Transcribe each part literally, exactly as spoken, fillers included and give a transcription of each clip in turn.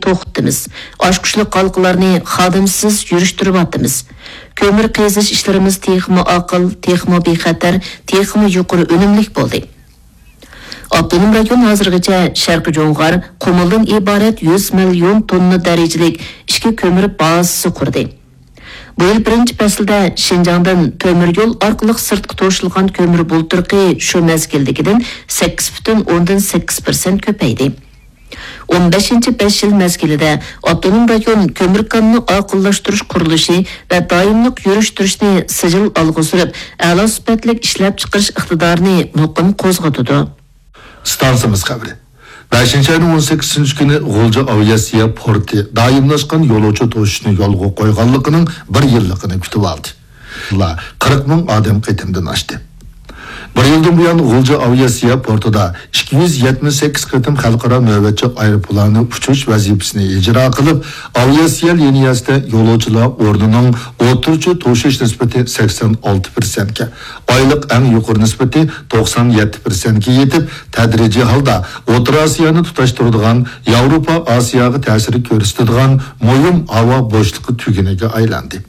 توختىتىمىز. ئاچقۇچلۇق ھالقىلارنى خادىمسىز يۈرۈشتۈرۈۋاتىمىز. كۆمۈر قېزىش ئىشلىرىمىز تېخىمۇ ئاقىل، تېخىمۇ بىخەتەر، تېخىمۇ يۇقىرى ئۈنۈملۈك بولدى. ئاپتونوم رايون ھازىرغىچە شەرقىي جۇڭغار قۇمۇلدىن ئىبارەت يۈز مىليون توننا دەرىجىلىك ئىچكى كۆمۈر بازىسى قۇردى. بۇ يىل بىرىنچى پەسىلدە شىنجاڭدىن تۆمۈر يول ئارقىلىق سىرتقا توشۇلغان كۆمۈر بۇلتۇرقى شۇ مەزگىلدىكىدىن سەككىز پۈتۈن ئوندىن سەككىز پىرسەنت كۆپەيدى. ئون بەشىنچى بەش يىل مەزگىلىدە ئاپتونوم رايون كۆمۈر كانىنى ئاقىللاشتۇرۇش قۇرۇلۇشى ۋە دائىملىق يۈرۈشتۈرۈشنى سىجىل ئالغا سۈرۈپ، ئەلا سۈپەتلىك ئىشلەپچىقىرىش ئىقتىدارىنى مۇقىم قوزغىتىدۇ. ئىستانسىمىز خەۋىرى. بەشىنچى ئاينىڭ ئون سەككىزىنچى كۈنى غۇلجا ئاۋىئاتسىيە پورتى دائىملاشقان يولۇچى توشۇشنى يولغا قويغانلىقىنىڭ بىر يىللىقىنى كۈتۈۋالدى. قىرىق مىڭ ئادەم قېتىمدىن ئاشتى. بىر يىلدىن بۇيان غۇلجا ئاۋىئاتسىيە پورتىدا ئىككى يۈز يەتمىش سەككىز قېتىم خەلقئارا نۆۋەتچى ئايروپىلانى ئۇچۇش ۋەزىپىسىنى ئىجرا قىلىپ، ئاۋىئاتسىيە لىنىيەسىدە يولۇچىلار ئورنىنىڭ ئوتتۇرىچە توشۇش نىسبىتى سەكسەن ئالتە پىرسەنتكە، ئايلىق ئەڭ يۇقىرى نىسبىتى توقسان يەتتە پىرسەنتكە يېتىپ، تەدرىجىي ھالدا ئوتتۇرا ئاسىيانى تۇتاشتۇرىدىغان، ياۋروپا ئاسىياغا تەسىر كۆرسىتىدىغان مۇھىم ھاۋا بوشلۇقى تۈگۈنىگە ئايلاندى.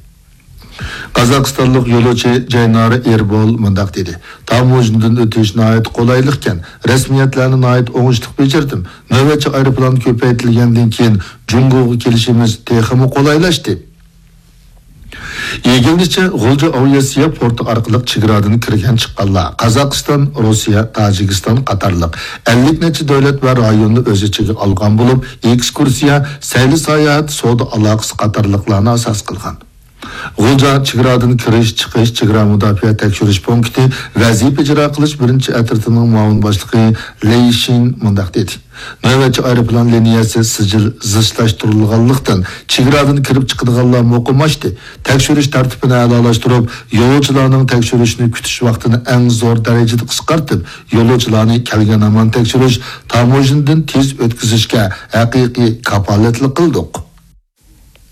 قازاقىستانلىق يولۇچى جەينارا ئېربول مۇنداق دېدى: تاموژنىدىن ئۆتۈش ناھايىتى قولايلىقكەن، رەسمىيەتلەرنى ناھايىتى ئوڭۇشلۇق بېجىردىم. نۆۋەتچى ئايروپىلان كۆپەيتىلگەندىن كېيىن جۇڭگوغا كېلىشىمىز تېخىمۇ قولايلاشتى. ئىگىلىنىشىچە، غۇلجا ئاۋىئاتسىيە پورتى ئارقىلىق چېگرادىن كىرگەن چىققانلار قازاقىستان، روسىيە، تاجىكىستان قاتارلىق ئەللىك نەچچە دۆلەت ۋە رايوننى ئۆز ئىچىگە ئالغان بولۇپ، ئېكسكۇرسىيە، سەيلە ساياھەت، سودا ئالاقىسى قاتارلىقلارنى ئاساس قىلغان. غۇلجا چېگرادىن كىرىش، چىقىش، چېگرا مۇداپىئە تەكشۈرۈش پونكىتى ۋەزىپە ئىجرا قىلىش بىرىنچى ئەترىتىنىڭ مۇئاۋىن باشلىقى لېي شىن مۇنداق دېدى: نۆۋەتچى ئايروپىلان لىنىيەسى سىجىل زىچلاشتۇرۇلغانلىقتىن، چېگرادىن كىرىپ چىقىدىغانلار مۇقىملاشتى. تەكشۈرۈش تەرتىپىنى ئەلالاشتۇرۇپ، يولۇچىلارنىڭ تەكشۈرۈشنى كۈتۈش ۋاقتىنى ئەڭ زور دەرىجىدە قىسقارتىپ، يولۇچىلارنى كەلگەن ھامان تەكشۈرۈش، تاموژنىدىن تېز ئۆتكۈزۈشكە ھەقىقىي كاپالەتلىك قىلدۇق.